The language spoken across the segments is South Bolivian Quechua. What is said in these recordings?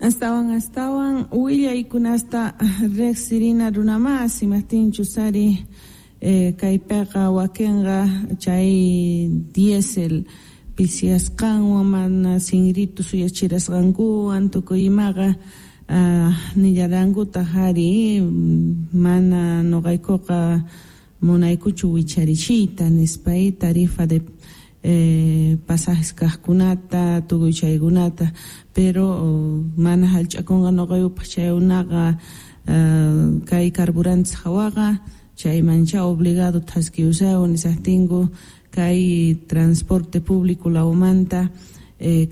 Astawan astawan willaykunasta riqsirina runamasi, imajtinchus ari kaypiqa wakinqa chay diésel pisiyasqanwan mana sinritu suyachirasqankuwan tukuy imaqa nillarankutaq ari mana nuqaykuqa munaykuchu wicharichiyta nispa tarifa de pasajes kaqkunata tukuy chaykunata, pero mana hallch'akunqa nuqayupaq chaykunaqa kay carburantes hawaqa chaymancha obligado thaskiyusaywan nisaqtinku kay transporte público lawmanta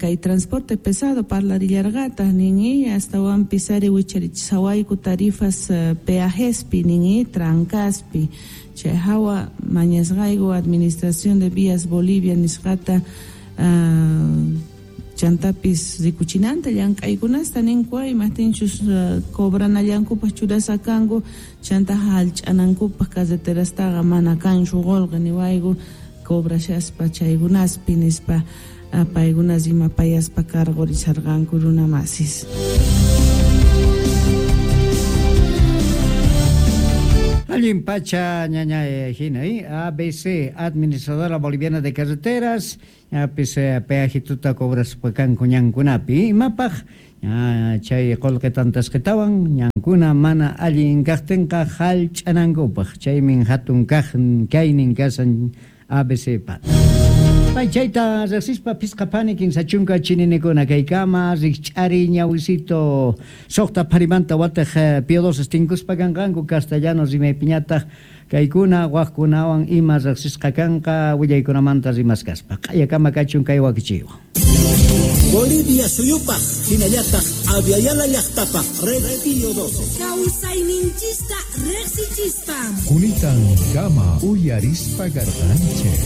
kay transporte pesado parlarillarqataq nin astawanpis ari wicharichisawayku tarifas peajespi nin trancaspi chay hawa mañasqayku Administración de Vías Bolivia nisqata chantapis rikuchinanta llank'aykunasta ninku imajtinchus cobranallankupaq churasqa kanku chanta hallch'anankupaq carreterastaqa mana kanchu qullqi niwayku cobrashaspa chaykunaspi nispa paykuna rimapayaspa cargorisharqanku runamasis. Allin pacha ñaña hina ABC, Administradora Boliviana de Carreteras, ñapis peajituta cobraspa kanku ñankunapi imapaq chay qullqi tantasqatawan ñankuna mana allin kaqtinqa hallch'anankupaq chaymin hatun kaq kaynin kasan ABC pat. Pay chayta riqsispa phisqa phani 30 chininikuna kaykama rikch'ari ñawisito suqta pharimanta wataq Pío XII tinkuspa kanqanku castellano rimaypiñataq kaykuna waqkunawan ima riqsisqa kanqa willaykunamanta rimaskaspa q'ayakama kachun kay wakichiywan. Bolivia suyupaq hinallataq Abya Yala llaqtapaq Red Pío XII. Kawsayninchista riqsichispa. Kunitan kama uyarispa garqanchik.